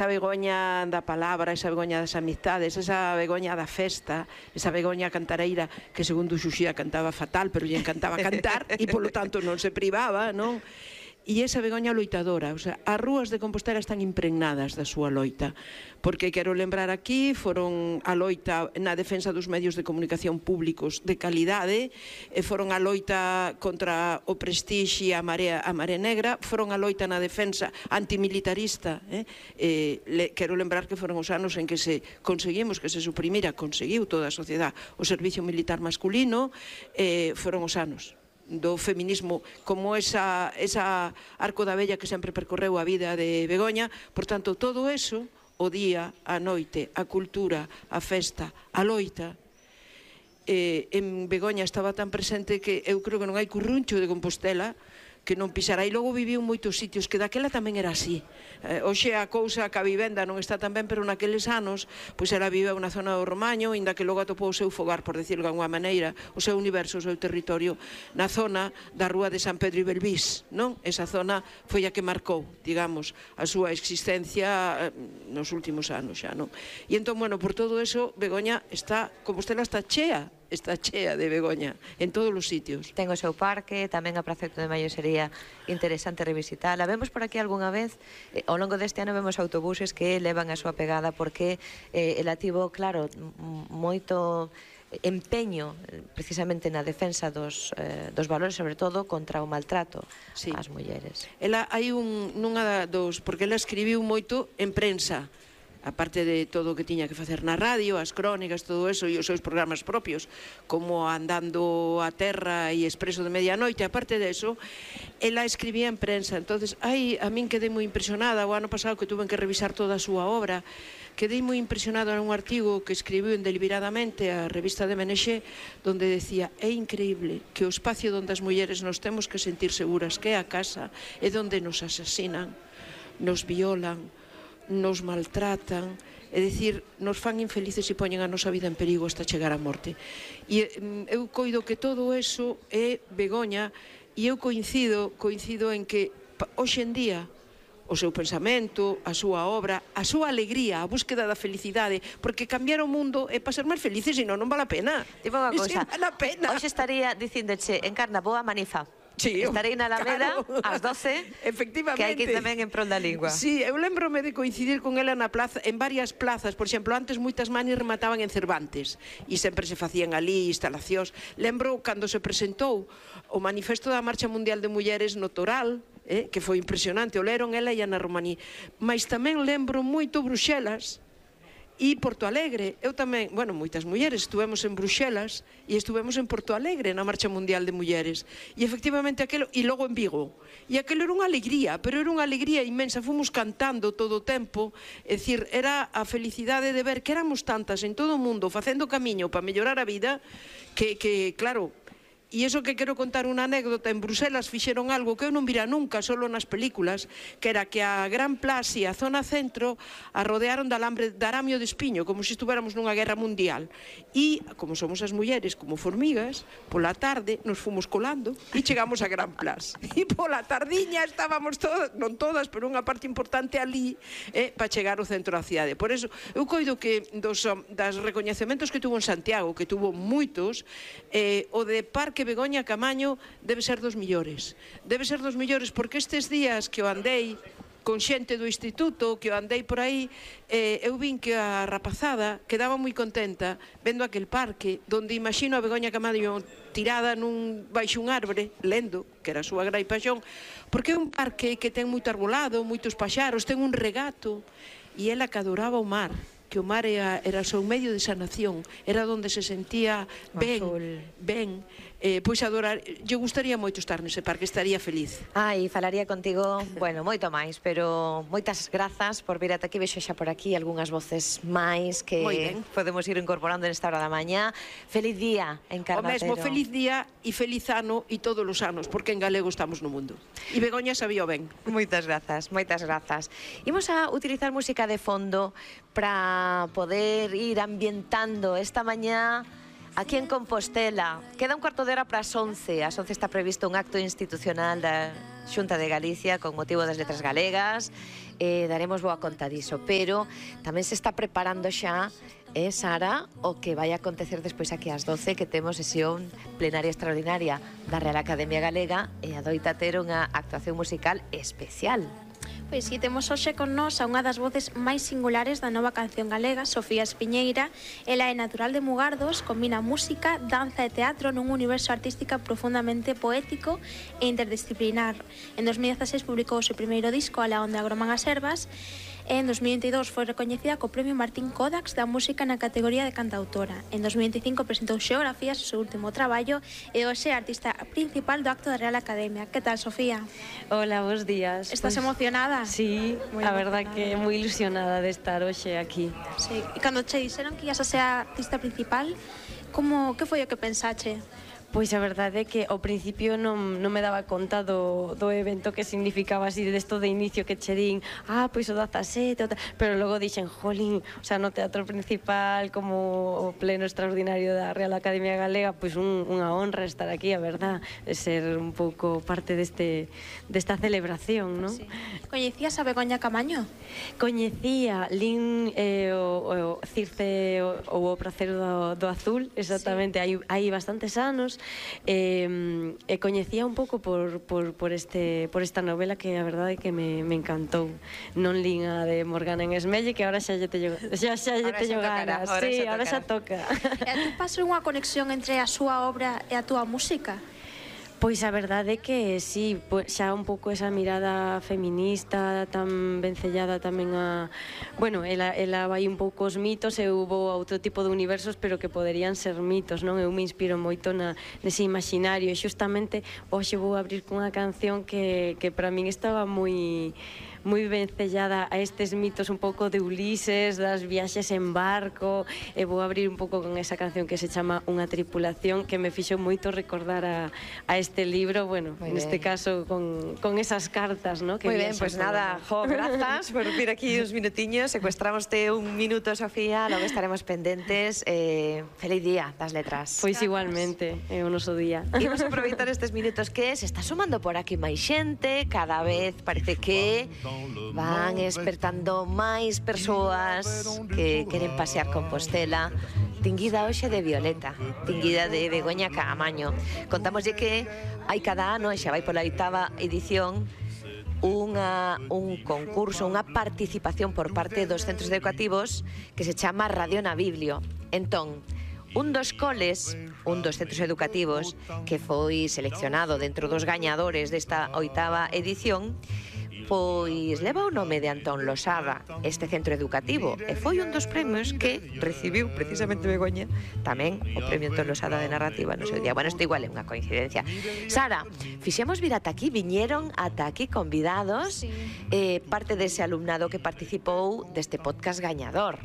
esa Begoña da palabra, esa Begoña das amistades, esa Begoña da festa, esa Begoña cantareira que segundo Xuxía cantaba fatal, pero lle encantaba cantar e polo tanto non se privaba, non? E esa Begoña loitadora, o sea, as rúas de Compostela están impregnadas da súa loita, porque quero lembrar aquí, foron a loita na defensa dos medios de comunicación públicos de calidade, foron a loita contra o Prestige e a Marea Negra, foron a loita na defensa antimilitarista, quero lembrar que foron os anos en que se conseguimos que se suprimira, conseguiu toda a sociedade o servicio militar masculino, foron os anos do feminismo como esa arco da vella que sempre percorreu a vida de Begoña. Por tanto, todo eso, o día, a noite, a cultura, a festa, a loita, en Begoña estaba tan presente que eu creo que non hai curruncho de Compostela que non pisara. E logo viviu en moitos sitios, que daquela tamén era así. Hoxe a cousa que a vivenda non está tan ben, pero naqueles anos, pois ela viveu na zona do Romaño, inda que logo atopou o seu fogar, por decirlo de alguma maneira, o seu universo, o seu territorio, na zona da rúa de San Pedro e Belvís, non? Esa zona foi a que marcou, digamos, a súa existencia nos últimos anos xa, non? E entón, bueno, por todo eso, Begoña está, Compostela está chea de Begoña, en todos os sitios. Ten o seu parque, tamén a Praza 8 de Maio sería interesante revisitarla. Vemos por aquí algunha vez, ao longo deste ano vemos autobuses que levan a súa pegada, porque ela tivo, claro, moito empeño precisamente na defensa dos valores, sobre todo contra o maltrato ás mulleres. Ela hai nunha dos, porque ela escribiu moito en prensa, aparte de todo o que tiña que facer na radio, as crónicas, todo eso, e os seus programas propios, como Andando a Terra e Expreso de Medianoite, aparte de eso, ela escribía en prensa. Entonces, a min quedei moi impresionada, o ano pasado que tuve que revisar toda a súa obra, quedei moi impresionada en un artigo que escribiu en Deliberadamente a revista de MNX, donde decía: é increíble que o espacio onde as mulleres nos temos que sentir seguras, que é a casa, é onde nos asasinan, nos violan, nos maltratan, é dicir, nos fan infelices e poñen a nosa vida en perigo hasta chegar á morte. E eu coido que todo eso é Begoña, e eu coincido en que hoxe en día o seu pensamento, a súa obra, a súa alegría, a búsqueda da felicidade, porque cambiar o mundo é para ser máis felices, senón non vale a pena. Tipo unha cousa, hoxe estaría dicíndoche, Encarna, boa manifa. Estarei na Alameda ás 12, que hai que ir tamén en prol da lingua. Sí, eu lembrome de coincidir con ela na plaza, en varias plazas. Por exemplo, antes moitas manis remataban en Cervantes e sempre se facían ali instalacións. Lembro cando se presentou o Manifesto da Marcha Mundial de Mulleres no Toral, que foi impresionante, o leron ela e Ana Romaní. Mas tamén lembro moito Bruxelas e Porto Alegre. Eu tamén, bueno, moitas mulleres estuvemos en Bruxelas e estuvemos en Porto Alegre na Marcha Mundial de Mulleres, e efectivamente aquelo, e logo en Vigo, e aquelo era unha alegría, pero era unha alegría inmensa. Fomos cantando todo o tempo, é dicir, era a felicidade de ver que éramos tantas en todo o mundo facendo camiño para mellorar a vida, que claro. E iso que quero contar unha anécdota, en Bruselas fixeron algo que eu non vira nunca, solo nas películas, que era que a Gran Plaza e a zona centro a rodearon de alambre de aramio de espiño, como se estuviéramos nunha guerra mundial. E, como somos as mulleres como formigas, pola tarde nos fomos colando e chegamos a Gran Plaza. E pola tardiña estábamos todas, non todas, pero unha parte importante ali, para chegar ao centro da cidade. Por eso, eu coido que dos recoñecementos que tuvo en Santiago, que tuvo moitos, o de Parque Begoña Camaño debe ser dos millores. Debe ser dos millores, porque estes días que o andei con xente do instituto, que o andei por aí, eu vin que a rapazada quedaba moi contenta vendo aquel parque, donde imagino a Begoña Camaño tirada baixo un árbore, lendo, que era a súa gran paixón, porque é un parque que ten moito arbolado, moitos paxaros, ten un regato, e ela que adoraba o mar, que o mar era o seu medio de sanación, era onde se sentía ben, pois adorar, lle gustaría moito estar nese parque, estaría feliz. E falaría contigo, bueno, moito máis, pero moitas grazas por vir ata aquí, vexo xa por aquí algunhas voces máis que podemos ir incorporando nesta hora da mañá. Feliz día, Encarna Otero. O mesmo, feliz día e feliz ano e todos os anos, porque en galego estamos no mundo. E Begoña sabía ben. Moitas grazas, moitas grazas. Imos a utilizar música de fondo para poder ir ambientando esta mañá aquí en Compostela. Queda un cuarto de hora para as 11. Ás 11 está previsto un acto institucional da Xunta de Galicia con motivo das letras galegas, daremos boa conta diso, pero tamén se está preparando xa, Sara, o que vai acontecer despois aquí ás 12, que temos sesión plenaria extraordinaria da Real Academia Galega e adoita ter unha actuación musical especial. Pois si, temos hoxe con nós a unha das voces máis singulares da nova canción galega, Sofía Espiñeira. Ela é natural de Mugardos, combina música, danza e teatro nun universo artístico profundamente poético e interdisciplinar. En 2016 publicou o seu primeiro disco, Alá onde agroman as ervas, e en 2022 foi recoñecida co Premio Martín Kodax da música na categoría de cantautora. En 2025 presentou Xeografías, o seu último traballo, e hoxe é a artista principal do acto da Real Academia. Que tal, Sofía? Hola, bons días. Estás emocionada? Sí, a verdad que moi ilusionada de estar hoxe aquí. Sí. E cando che dixeron que ias a ser a artista principal, que foi o que pensache? Pois a verdade é que ao principio non me daba conta do evento que significaba así desto de inicio que che din pois o 17, pero logo dixen, jolín, o sea, no teatro principal como o pleno extraordinario da Real Academia Galega, pois unha honra estar aquí, a verdad, ser un pouco parte desta celebración, non? Sí. Coñecías a Begoña Camaño? Coñecía, lin o Circe ou o Pracer do Azul, exactamente, sí. hai bastantes anos, e coñecía un pouco por esta novela que a verdade é que me encantou. Non lin a de Morgana en Esmelle, que ahora xa lle teño ganas. Sí, ahora xa toca. E a ti pasa unha conexión entre a súa obra e a túa música? Pois a verdade é que sí, xa un pouco esa mirada feminista tan vencellada tamén a... Bueno, ela vai un pouco os mitos, eu vou a outro tipo de universos, pero que poderían ser mitos, non? Eu me inspiro moito nese imaginario, e xustamente hoxe vou abrir cunha canción que para min estaba moi vencellada a estes mitos un pouco de Ulises, das viaxes en barco, e vou abrir un pouco con esa canción que se chama Unha tripulación, que me fixo moito recordar a este libro, bueno, neste caso con esas cartas, ¿no? Moi ben, pois nada, grazas por vir aquí uns minutiños, secuestramoste un minuto, Sofía, logo estaremos pendentes. Feliz día das letras. Pois igualmente, é o noso día. Imos aproveitar estes minutos que se está sumando por aquí máis xente, cada vez parece que van despertando máis persoas que queren pasear Compostela. Tinguida hoxe de Violeta, tinguida de Begoña Camaño. Contámoslle que hai cada ano, e xa vai pola 8ª edición, un concurso, unha participación por parte dos centros educativos que se chama Radio na Biblio. Entón, un dos coles, un dos centros educativos que foi seleccionado dentro dos gañadores desta 8ª edición, pois leva o nome de Antón Losada, este centro educativo, e foi un dos premios que recibiu precisamente Begoña, tamén o premio Antón Losada de narrativa no seu día. Bueno, isto igual é unha coincidencia. Sara, fixemos vir ata aquí, viñeron ata aquí convidados, parte dese alumnado que participou deste podcast gañador.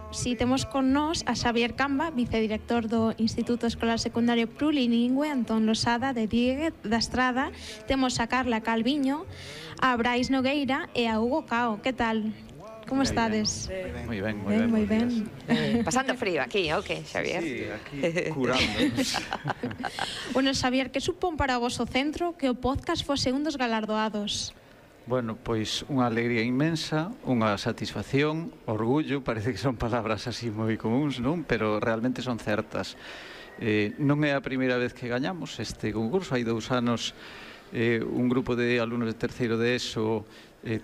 Si, temos con nós a Xavier Camba, vicedirector do Instituto Escolar Secundario Plurilingüe Antón Losada de Diéguez da Estrada. Temos a Carla Calviño, a Brais Nogueira e a Hugo Cao. Que tal? Como estades? Moi ben. Pasando frío aquí, o que, Xavier? Sí, aquí curándonos. Bueno, Xavier, que supón para vos o centro que o podcast fose un dos galardoados? Bueno, pois unha alegría inmensa, unha satisfacción, orgullo, parece que son palabras así moi comuns, non? Pero realmente son certas. Non é a primeira vez que gañamos este concurso, hai 2 anos un grupo de alumnos de terceiro de ESO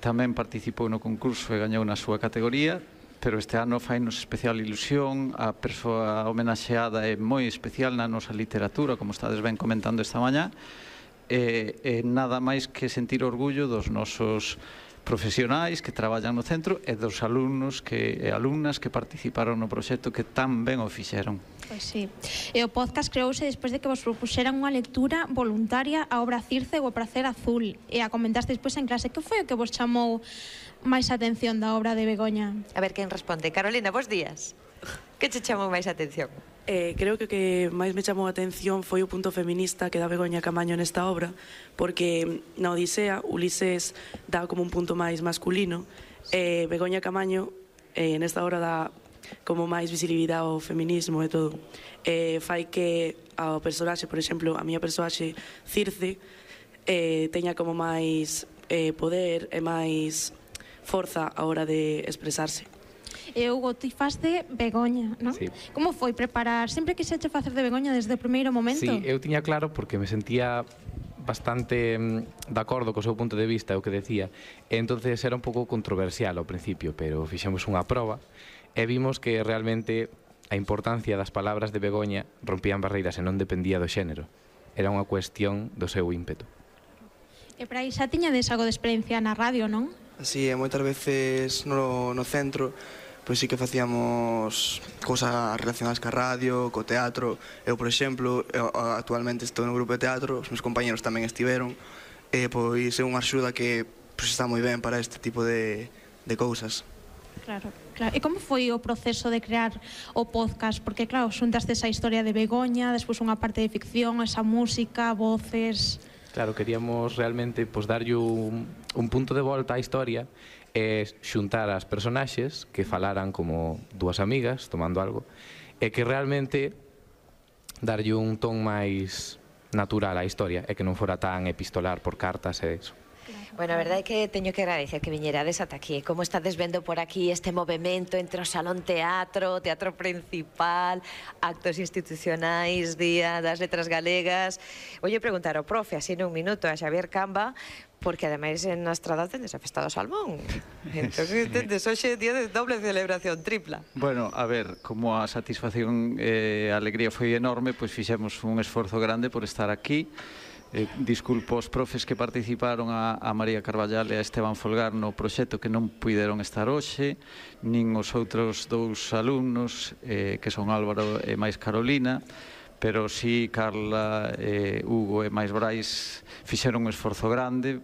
tamén participou no concurso e gañou na súa categoría, pero este ano fainos especial ilusión, a persoa homenaxeada é moi especial na nosa literatura, como estades ben comentando esta mañá, e nada máis que sentir orgullo dos nosos profesionais que traballan no centro e dos alumnos e alumnas que participaron no proxecto que tan ben o fixeron. Pois sí. E o podcast creouse despois de que vos propuxeran unha lectura voluntaria a obra Circe ou o Pracer Azul, e a comentaste despois en clase. Que foi o que vos chamou máis atención da obra de Begoña? A ver quen responde. Carolina, bos días. Que che chamou máis atención? Creo que o que máis me chamou a atención foi o punto feminista que dá Begoña Camaño nesta obra, porque na Odisea Ulises dá como un punto máis masculino, e Begoña Camaño nesta obra dá como máis visibilidade ao feminismo e todo. Fai que ao personaxe, por exemplo, a miña personaxe Circe teña como máis poder e máis forza a hora de expresarse. E Hugo, ti faz de Begoña, non? Sí. Como foi preparar? Sempre quixeche facer de Begoña desde o primeiro momento? Sí, eu tiña claro porque me sentía bastante de acordo co seu punto de vista, o que decía. E entonces era un pouco controversial ao principio, pero fixemos unha proba e vimos que realmente a importancia das palabras de Begoña rompían barreiras e non dependía do xénero. Era unha cuestión do seu ímpeto. E para aí xa tiñades algo de experiencia na radio, non? Así, moitas veces no centro pois sí que facíamos cousas relacionadas ca radio, co teatro. Eu, por exemplo, actualmente estou no grupo de teatro, os meus compañeros tamén estiveron, e pois é unha axuda que pois está moi ben para este tipo de cousas. Claro, claro. E como foi o proceso de crear o podcast? Porque, claro, xuntaste esa historia de Begoña, despois unha parte de ficción, esa música, voces... Claro, queríamos realmente darlle un punto de volta á historia e xuntar as personaxes que falaran como dúas amigas tomando algo e que realmente darlle un ton máis natural á historia e que non fora tan epistolar por cartas e eso. Bueno, a verdade é que teño que agradecer que viñerades ata aquí. Como estades vendo por aquí este movimento entre o Salón Teatro, Teatro Principal, actos institucionais, Día das Letras Galegas. Voy a preguntar ao profe, así nun minuto, a Xavier Camba, porque ademais en Estrada tendes a Festa do Salmón. Entón, tendes hoxe día de doble celebración, tripla. Bueno, a ver, como a satisfacción e a alegría foi enorme, pois fixemos un esforzo grande por estar aquí. Disculpo os profes que participaron, a María Carballal e a Esteban Folgar no proxecto, que non puideron estar hoxe, nin os outros dous alumnos, que son Álvaro e máis Carolina, pero si Carla, Hugo e máis Brais fixeron un esforzo grande.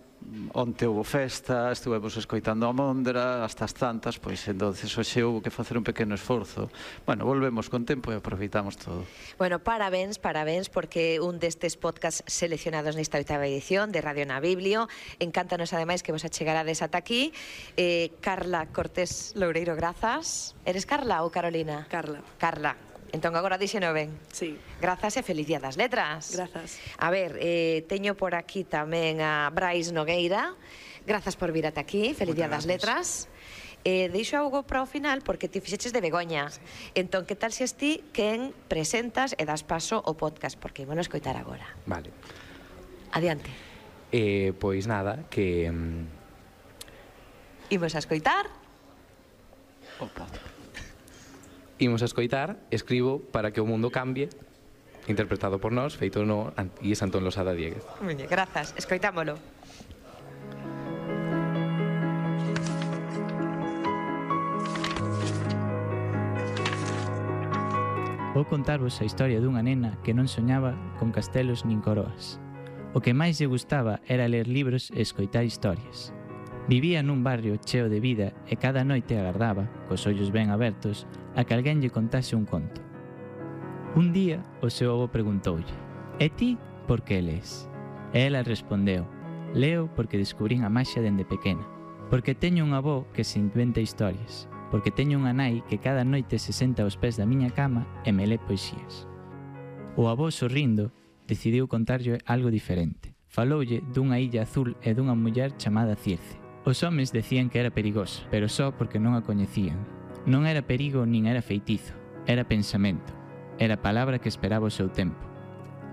Onte houve festa, estuvemos escoitando a Mondra, hasta as tantas, pois entonces hoxe houve que facer un pequeno esforzo. Bueno, volvemos con tempo e aproveitamos todo. Bueno, parabéns, porque un destes podcasts seleccionados nesta 8ª edición de Radio na Biblio. Encántanos ademais que vos achegarades ata aquí. Carla Cortés Loureiro, grazas. Eres Carla ou Carolina? Carla. Carla. Entón agora díxeno ben. Sí. Grazas e feliz Día das Letras. Grazas. A ver, teño por aquí tamén a Brais Nogueira. Grazas por vir ata aquí. Feliz Día das Letras. Deixo algo para o final porque ti fixeches de Begoña. Sí. Entón, que tal se ti quen presentas e das paso o podcast? Porque ímonos escoitar agora. Vale. Adiante. Pois nada, que... Imos a escoitar. Opa. Imos a escoitar Escribo para que o mundo cambie, interpretado por nós, feito no IES Antón Losada Dieguez. Grazas, escoitámolo. Vou contarvos a historia dunha nena que non soñaba con castelos nin coroas. O que máis lle gustaba era ler libros e escoitar historias. Vivía nun barrio cheo de vida e cada noite agardaba, cos ollos ben abertos, a que alguén lle contase un conto. Un día, o seu avó preguntoulle: "E ti, por que lees?" E ela respondeu: "Leo porque descubrín a maxia dende pequena, porque teño un avó que se inventa historias, porque teño unha nai que cada noite se senta aos pés da miña cama e me lé poesías." O avó, sorrindo, decidiu contarlle algo diferente. Faloulle dunha illa azul e dunha muller chamada Circe. Os homes decían que era perigoso, pero só porque non a coñecían. Non era perigo nin era feitizo, era pensamento, era palabra que esperaba o seu tempo.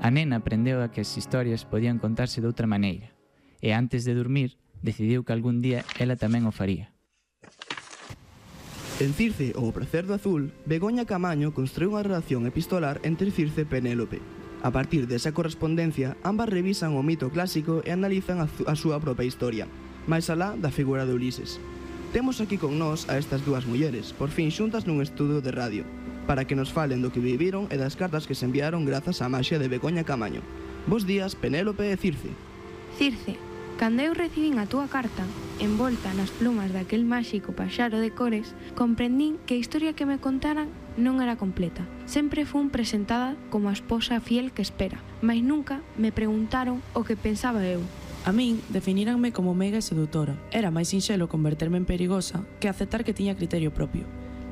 A nena aprendeu a que as historias podían contarse de outra maneira, e antes de dormir, decidiu que algún día ela tamén o faría. En Circe, ou o pracer do azul, Begoña Camaño construiu unha relación epistolar entre Circe e Penélope. A partir desa correspondencia, ambas revisan o mito clásico e analizan a súa propia historia, máis alá da figura de Ulises. Temos aquí con nós a estas dúas mulleres, por fin xuntas nun estudio de radio, para que nos falen do que viviron e das cartas que se enviaron grazas á maxia de Begoña Camaño. Bos días, Penélope e Circe. Circe, cando eu recibín a túa carta, envolta nas plumas daquel máxico paxaro de cores, comprendín que a historia que me contaran non era completa. Sempre fun presentada como a esposa fiel que espera, mas nunca me preguntaron o que pensaba eu. A min definíranme como meiga e sedutora. Era máis sinxelo converterme en perigosa que aceptar que tiña criterio propio.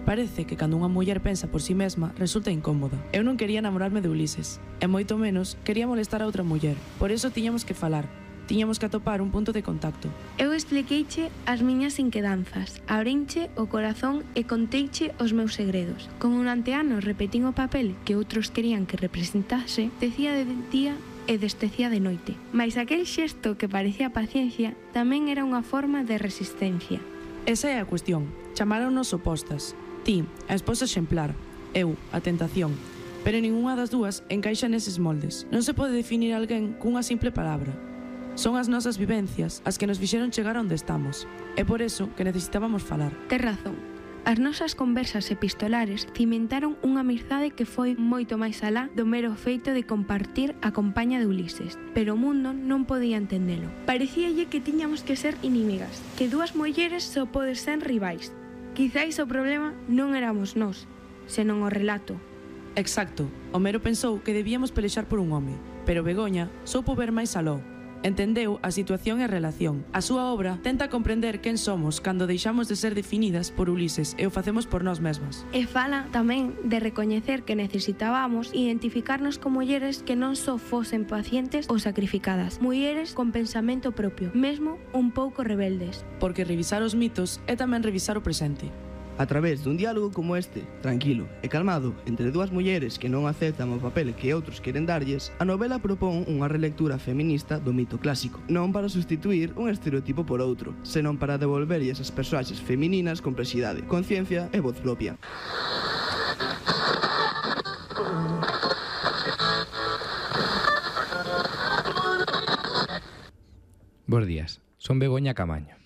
Parece que cando unha muller pensa por si mesma resulta incómoda. Eu non quería enamorarme de Ulises, e moito menos quería molestar a outra muller. Por iso tiñamos que falar. tiñamos que atopar un punto de contacto. Eu expliqueiche as miñas inquedanzas, abrinche o corazón e conteiche os meus segredos. Como durante anos repetín o papel que outros querían que representase, decía de día e destecía de noite. Mais aquel xesto que parecía paciencia tamén era unha forma de resistencia. Esa é a cuestión. Chamáronos opostas. Ti, a esposa exemplar. Eu, a tentación. Pero ninguna das dúas encaixa neses moldes. Non se pode definir alguén cunha simple palabra. Son as nosas vivencias as que nos fixeron chegar onde estamos. É por eso que necesitábamos falar. Tes razón. As nosas conversas epistolares cimentaron unha amizade que foi moito máis alá do mero feito de compartir a compaña de Ulises, pero o mundo non podía entendelo. Parecíalle que tiñamos que ser inimigas, que dúas mulleres só poden ser rivais. Quizáis o problema non éramos nós, senón o relato. Exacto. Homero pensou que debíamos pelexar por un home, pero Begoña soupo ver máis aló. Entendeu a situación e a relación. A súa obra tenta comprender quen somos cando deixamos de ser definidas por Ulises e o facemos por nós mesmas. E fala tamén de recoñecer que necesitábamos identificarnos con mulleres que non só fosen pacientes ou sacrificadas, mulleres con pensamento propio, mesmo un pouco rebeldes. Porque revisar os mitos é tamén revisar o presente. A través dun diálogo como este, tranquilo e calmado, entre dúas mulleres que non aceptan o papel que outros queren darlles, a novela propón unha relectura feminista do mito clásico, non para sustituir un estereotipo por outro, senón para devolverlles as persoaxes femininas complexidade, conciencia e voz propia. Bos días, son Begoña Camaño.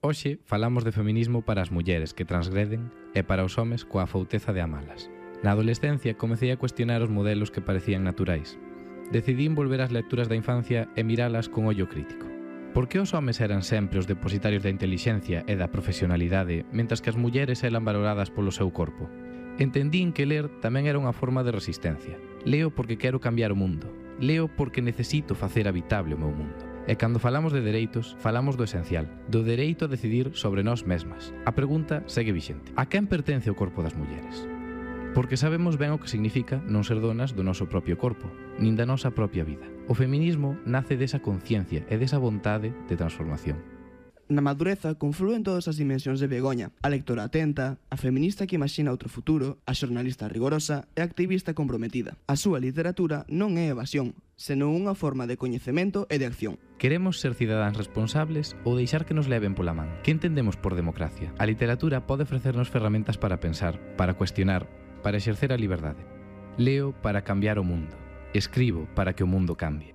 Hoxe falamos de feminismo para as mulleres que transgreden e para os homes coa fouteza de amalas. Na adolescencia comecei a cuestionar os modelos que parecían naturais. Decidín volver ás lecturas da infancia e miralas con ollo crítico. Por que os homes eran sempre os depositarios da intelixencia e da profesionalidade, mentras que as mulleres eran valoradas polo seu corpo? Entendín que ler tamén era unha forma de resistencia. Leo porque quero cambiar o mundo. Leo porque necesito facer habitable o meu mundo. E cando falamos de dereitos, falamos do esencial, do dereito a decidir sobre nós mesmas. A pregunta segue vixente. A quen pertence o corpo das mulleres? Porque sabemos ben o que significa non ser donas do noso propio corpo, nin da nosa propia vida. O feminismo nace desa conciencia e desa vontade de transformación. Na madureza conflúen todas as dimensións de Begoña, a lectora atenta, a feminista que imagina outro futuro, a xornalista rigorosa e a activista comprometida. A súa literatura non é evasión, senón unha forma de coñecemento e de acción. Queremos ser cidadáns responsables ou deixar que nos leven pola man? Que entendemos por democracia? A literatura pode ofrecernos ferramentas para pensar, para cuestionar, para exercer a liberdade. Leo para cambiar o mundo. Escribo para que o mundo cambie.